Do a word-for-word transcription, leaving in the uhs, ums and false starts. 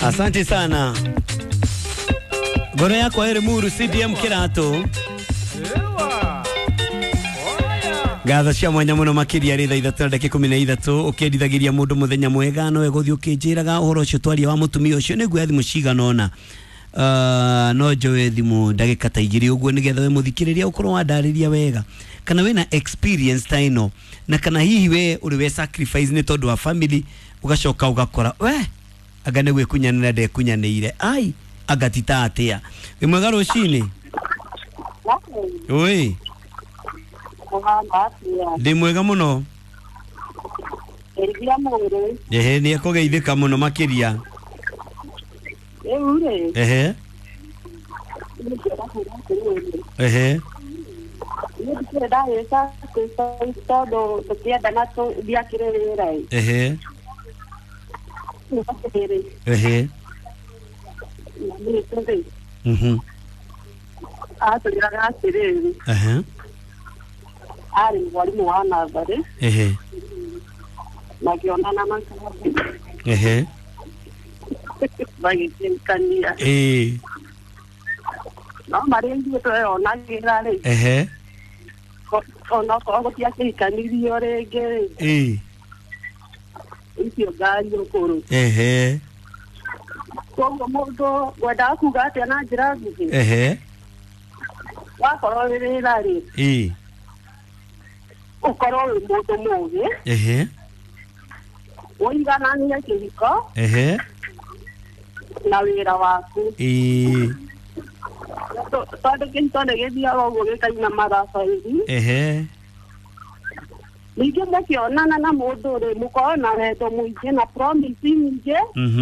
Asante sana. Ngoro yakwa ĩrĩ Muru C D M Kĩratũ. Ngatho cia mwanya mũno makĩria rĩ thaa ithatũ na ndagĩka ikũmi na ithatũ ũkĩendithagĩria mũndũ mũthenya mwega no egũthiĩ ũkĩnjĩraga ũhoro ũcio twaria wa mũtumia ũcio nĩguo thimũ cigana ũna. Uh, no njoe thimũ ndagĩka ta igĩrĩ ũguo nĩgetha we mũthikĩrĩria ũkorwo wandarĩria wega kana wĩna experience ta ĩno na kana hihi we ũrĩ we sacrifice nĩ tondũ wa family ũgacoka ũgakora we anga nĩ gwĩkunyanĩra ndekunyanĩire ai anga ti ta atĩa. Wĩ mwega rũcinĩ? Ũĩ, ndĩ mwega mũno. Ehe, nĩ ekũgeithĩka mũno makĩria. Ehe. Ehe. Ehe. Ehe. Mhm. Ehe. Arĩ mwarimũ wa natharĩ. Ehe. Makĩonana makambĩ. Ehe. Magĩkĩrikania. Ĩĩ. No marĩa ithuĩ tweyonagĩra rĩ. Ehe. Onokorwo gũtiakĩhikanirio rĩngĩ rĩ. Ĩĩ. Icio ngari ũkũrũ. Ehe. Koguo mũndũ ngwendaga kuga atĩa na njĩra nguhĩ? Ehe. Wakorwo wĩ wĩra rĩ. Ĩĩ. Ũkorwo wĩ mũndũ mũũgĩ. Ehe. Ũigananie kĩhiko. Ehe. Na wĩra waku. Ĩĩ. Tondũ kĩhiko nĩ gĩthiaga ũguo gĩkaina marabaithi. Ehe. Ningĩ mũkĩonana na mũndũ rĩ, mũkorwo na wendo mũingĩ na promise nyingĩ. Mhm.